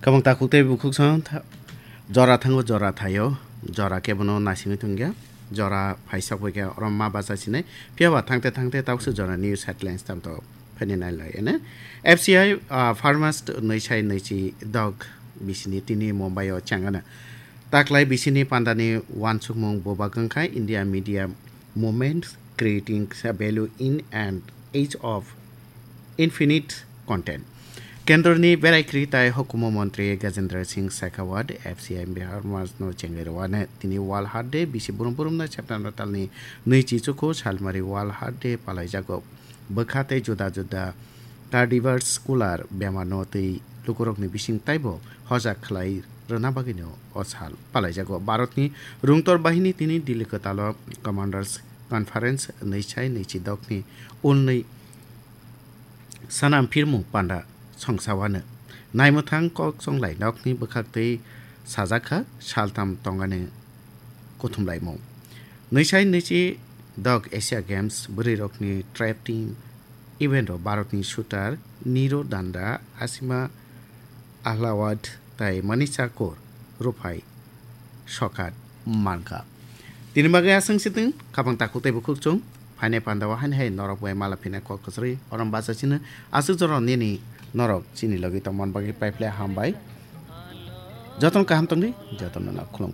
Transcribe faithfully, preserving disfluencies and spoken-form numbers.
Kabang takhuk tei bukhuk song tha-, jora thango, jora thaio, jora kebono naisingwi tongya, jora phaisok bai khe oro ma bacha sinai, phiya ba thangte thangte tabukse jora news headlines tamto phainai nailai ene. F C I, ah, pharmacist nwi sai nwichi dok bisini tini Mumbai o chengana. Taklai bisini pandani wansukmung bubak wngkha India media movement creating a value in an age of infinite content. Kendroni berai kri tai hukumu montri Gajendra Singh Shekhawat F C I Bihar Majno chengwi rwano tini World Heart Day bisi burum burumno September talni nwi chichuku salmari World Heart Day palaijago. Bwkha tei juda juda cardiovascular bemarno tei lukurokni bising taibo hojak khlai rwna bagwino o sal palaijago. Bharatni rungtor bahini tini Delhi kwtalo Commanders Conference nwi sai nwi chi dokni unni sanam phirmung panda songsawano. Naimwthang kok chonglai nokni bwkhak tei sajakha saltam tongani kuthumlaimung. Nwi sai nwi chi dok Asia Games bwrwirokni trap team event o Bharatni shooter Niro Danda, Asima Ahlawat tai Manisha Kaur ruphai sokat mankha. Tini bagwi aswng sitwng, kabang takhuk tei bukhuk chwng, phainai pandao haini hai norok bai mala phina kok kwchwrwi orom bacha chini aswk jora nini norok chini logi tongman bagwi paiphle hambai. Jotono kaham tongdi, jotono no khulumkha.